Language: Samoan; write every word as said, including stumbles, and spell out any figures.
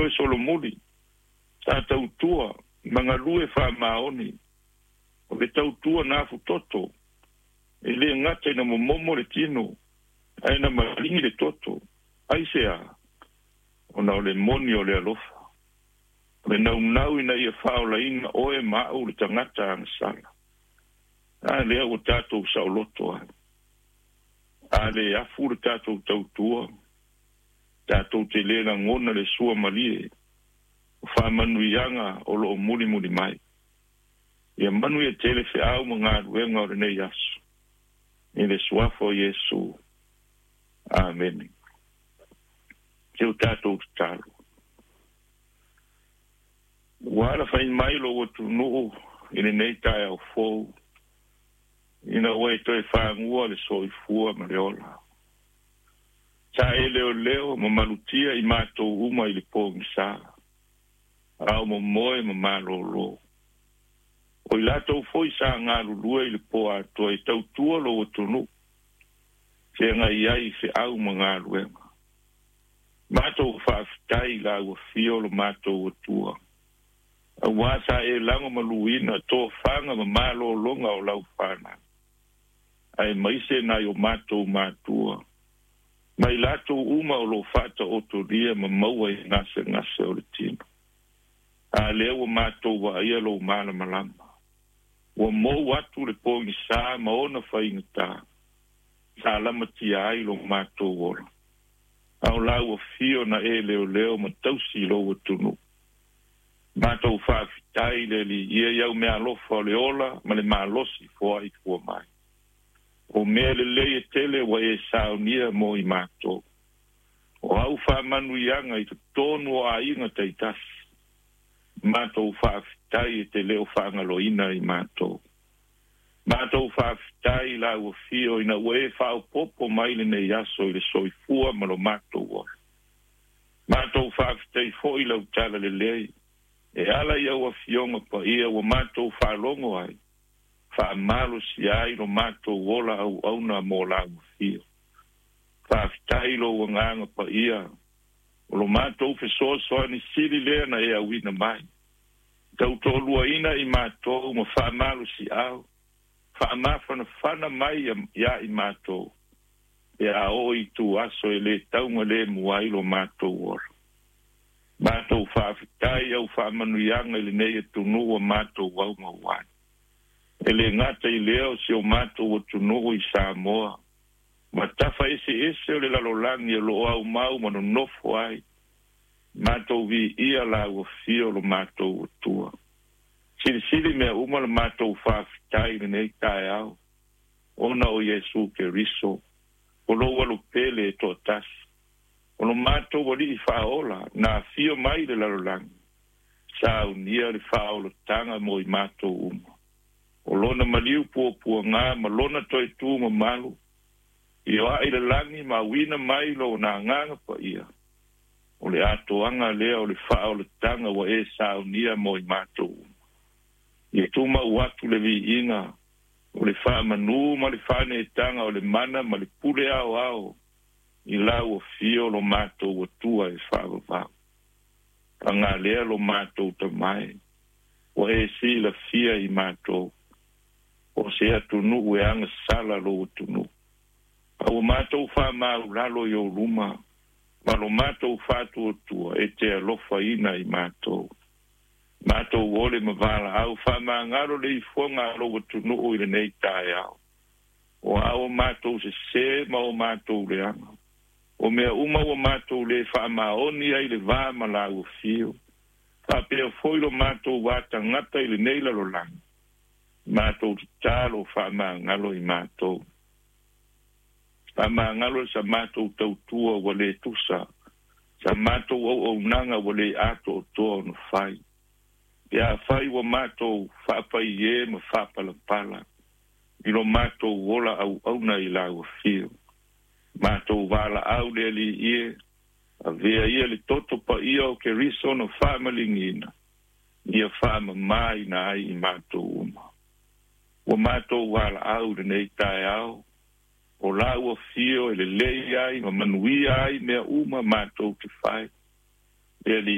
toe solomuli. Sa tautua ma galue faamaoni. O le tautua na afutoto. E le gata ina momomo le tino, ae na maligi le toto. Aisea? Ona o le moni o le alofa. O le naunau ina ia faaolaina oe ma au le tagata agasala. A lea ua tatou saoloto ai. A le afu le tatou tautua, tatou te le lagona le suamalie o faamanuiaga o loo mulimuli mai. Ia manuia tele feau ma galuega o lenei aso. I le suafa o Iesu. Amene. Se o tatou tatalo. Ua alafai mai lou atunuu i lenei taeao fou, ina ua e toe fagua le soifua ma le ola. Sa e leoleo ma malutia i matou uma i le pogisa, a o momoe ma malōlō. O i latou foi sa galulue i le po atoa e tautua lou atunuu, feagai ai i feau ma galuega. Matou faafetai i lau afio lo matou Atua. Auā sa e lagomaluina tofaga ma malōlōga o lau fanau. Aemaise nai o matou matua. Ma i latou uma o loo faataotolia ma maua i gasegase o le tino. A lea ua matou vaaia lou malamalama. Ua mou atu le pogisā ma ona faigatā. Sa lamatia ai lo matou ola. A o lau afio na e leoleo ma tausi i lou atunuu. Matou faafetai le Alii ia i au meaalofa o le ola ma le malosi foai fua mai. O mea lelei e tele ua e saunia mo i matou. O au faamanuiaga i totonu o aiga taitasi. Matou faafetai e te le o faagaloina i matou. Matou faafetai i lau afio ina ua e faaopoopo mai lenei aso i le soifua ma lo matou ola. Matou faafetai foi i lau talalelei e ala i au afioga paia ua matou faalogo ai, faamalosia ai lo matou ola auauna mo lau afio. Faafetai lou agaga paia, o lo matou fesoasoani sili lea na e auina mai. Tautoaluaina i matou ma faamalosiau, faamafanafana mai ia i matou, pe a oo i ituaso e le taugalemu ai lo matou ola. Matou faafetai i au faamanuiaga i lenei atunuu ua matou aumau ai. E le gata i lea o si o matou atunuu i Samoa, ma tafa eseese o le lalolagi o loo aumau ma nonofo ai, matou viia lau afio lo matou Atua. Silisili mea uma le matou faafetai i lenei taeao, ona o Iesu Keriso, o lou alopele e toatasi. O lo matou Alii faaola na afio mai i le lalolagi, saunia le faaolataga mo i matou uma. O lona maliu puapuagā ma lona toe tu mamalu, ioae i le lagi ma auina mai lona agaga paia, o le atoaga lea o le faaolataga ua e saunia mo i matou uma. Ia tumau atu le viiga, o le faamanū ma le faaneetaga o le mana ma le pule aoao i lau afio lo matou Atua e faavavau. Paga lea lo matou tamae, ua e silafia i matou, o se atunuu e agasala lou atunuu. A ua matou faamaulalo i ou luma, ma lo matou faatuatua e te alofaina i matou. Matou ole ma valaau faamagalo le ifoga a lou atunuu i lenei taeao. O a o matou sesē ma o matou leaga. O mea uma ua matou le faamaoni ai i le va ma lau afio, faapea foi lo matou va tagata i lenei lalolagi, matou tatalo faamagalo i matou. Faamagalo sa matou tautua ua le tusa, sa matou auaunaga ua le atoatoa ona fai. Pe afai ua matou faapaiē ma faapalapala i lo matou ola auauna i lau afio. Matou valaau le Alii e, avea ia le toto paia o Keriso na faamaligiina, ia faamamāina ai i matou uma. Ua matou valaau i lenei taeao, o lau afio e lelei ai ma manuia ai mea uma matou te fai. Le Alii